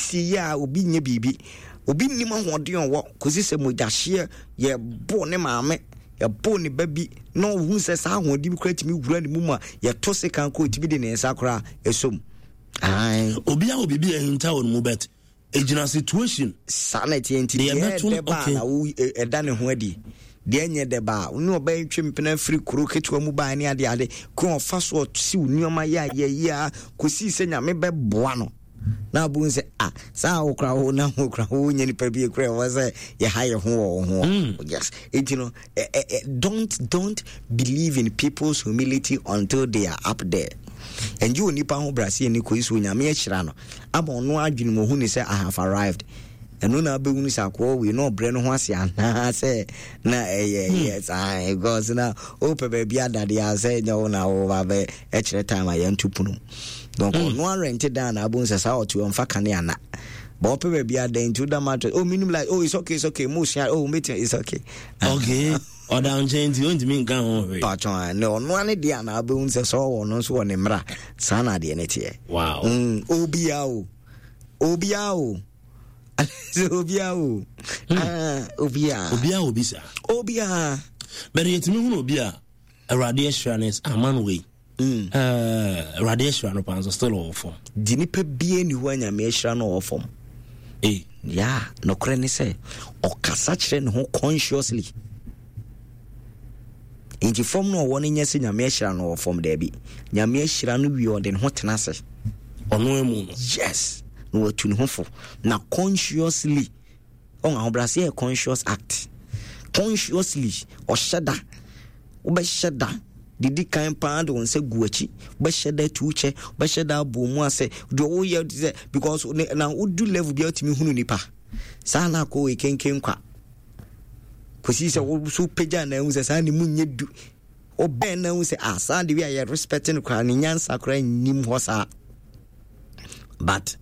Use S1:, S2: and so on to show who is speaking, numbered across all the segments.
S1: Siesie yi a obi nyɛ biribi. Obi nnim ahoɔden ɔwɔ kɔsi sɛ mogyahyeɛ yɛbo ne maame, yɛbo ne ba bi na ɔhu sɛ saa ahoɔden bi koraa tumi wura ne mu ma yɛto sekan kɔ ɔtumi de ne nsa koraa ɛsom.
S2: Obi a wɔ biribi a ɛhinta wɔ ne mu bɛt ɛgyina situation.
S1: Saa na ɛteɛ nti deɛ ɛdɛ ba na wo ɛda ne ho adi deɛ ɛnyɛ dɛ ba a ne ɔbɛn twe mpena firi kuro ketewa mu baa ne ade ade ko ɔfa so ɔsiw nneɛma yɛ a yɛyɛ a kɔsii sɛ Nyame bɛboa no na abom sɛ ah saa wo kora wo na wo kora wo nyɛ nipa bi kora ɛwɔ sɛ yɛha yɛ ho wɔ wo ho yes enti no eh, eh, eh, don't believe in people's humility until they are up there. Ɛngye onipa ho brase ani kɔyi so Onyame ahyira no ama ɔno adwene mu ɔhu ne sɛ I have arrived. Ɛno na abɛhunu sɛ akoa wei na ɔbrɛ no ho ase anaa sɛ na ɛyɛ hmm. saa because na wopɛ baabi adadeɛ a sɛ ɛnyɛ wo na woba bɛ ɛkyerɛ time a yɛnto pono donc hmm. ɔno arɛnte dan na abɛhu sɛ saa ɔte ɔmfa kane ana but ɔpɛ baabi ada nti woda mattress oh minimum like oh it's okay, it's okay mo sua oh mɛtia it's okay.
S2: Okay, ɔda nkyɛn nti ɔntumi nka ho hwee.
S1: Patwɔn ne ɔno ane deɛ anaa wobɛhu sɛ sɛ ɔwɔ no nso wɔ ne mmara saa na adeɛ no teɛ.
S2: Wow.
S1: Obia o, obia o, sɛ obia o. Ah, obia.
S2: Obia obi saa.
S1: Obia.
S2: Bɛde yɛtumi hunu obi a Awurade ahyira no ama no wei. Eh, Awurade ahyira no paa nso still ɔwɔ fam.
S1: Di nipa bie ni hɔ a Nyame ahyira no ɔwɔ fam.
S2: Eh.
S1: Ya, nokorɛ ne sɛ ɔkasa kyerɛ ne ho consciously. Nti fam no ɔwɔ no nyɛ sɛ Nyame ahyira no ɔwɔ fam daabi. Nyame ahyira no wie ɔde ne ho tena ase.
S2: Ɔno amu no.
S1: Yes. Na watu ne ho fo. Na consciously Ɔn ahobrɛaseɛ yɛ conscious act. Consciously, ɔhyɛ da. Wobɛhyɛ da didi kan paa de wo nsa gu akyi. Wobɛhyɛ da tu kyɛ, wobɛhyɛ da abɔ mu ase. Deɛ woyɛ sɛ because na wodu level bi a wotumi hunu nipa. Saa na akɔ wɔ kenken kwa. Kɔsi sɛ wo so pagya na ahu sɛ saa ne mu nyɛ du. Wobɛn na ahu sɛ ah saa de wi a yɛ respect no koraa ne nyansa koraa nnim hɔ saa. But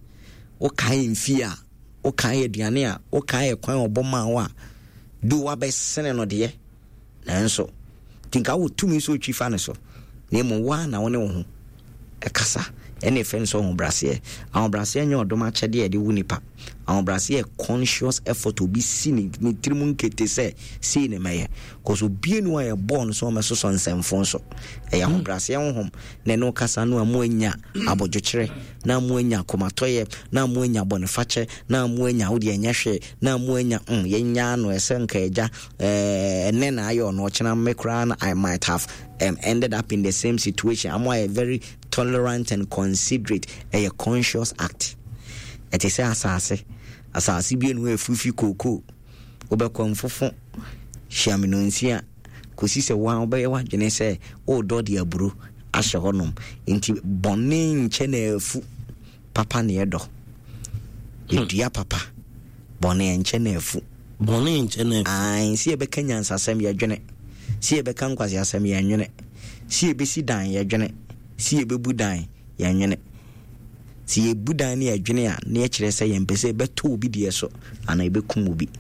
S1: wokae mfie a wokae aduane a wokae ɛkwan a ɔbɔ maa wo a do wabɛsene no deɛ nanso nti nka wɔ tumi sɛ ɔtwi fa no so na mmom woa na wo ne wo ho ɛkasa ɛne ɛfɛ no sɛ ahobraseɛ. Ahobraseɛ nyɛ ɔdom akyɛdeɛ a ɛde wo nipa. Ahobraseɛ yɛ conscious effort obi si ne ne tirim nkete sɛ sei ne mɛyɛ cause obie nu a yɛbɔɔ no sɛ ɔmɛsosɔ nsɛmfo nso. Ɛyɛ ahobraseɛ honhom na ɛne kasa no a mo anya abodwokyerɛ na mo anya akomatɔyɛ na mo anya bɔnefakyɛ na mo anya wo deɛ ɛnyɛ hwee na mo anya yɛnya no ɛsɛ nka agya ɛnɛ na ayɛ ɔno ɔkyena me koraa na I might have ended up in the same situation. Amo ayɛ very tolerant and considerate. Ɛyɛ conscious act. Ɛte sɛ asase asase bi enu efufi kookoo wobɛkɔ mfofo hyiamenonsia kɔsi sɛ wo a wobɛyɛ w'adwene sɛ wodɔ de aburo ahyɛ hɔnom. Nti bɔne nkyɛ na afu, papa na ɛdɔ. Yɛdua papa, bɔne nkyɛ na afu.
S2: Bɔne nkyɛ na afu.
S1: Ae, sɛ yɛbɛka nyansasɛm yɛdwene, sɛ yɛbɛka nkwaseasɛm yɛnwene, sɛ yɛbɛsi dan yɛdwene, sɛ yɛbɛbu dan yɛnwene. Sɛ yɛbu dan ne yɛdwene a, na yɛkyerɛ sɛ yɛmpɛ sɛ yɛbɛtɔ obi deɛ so anaa yɛbɛkum obi.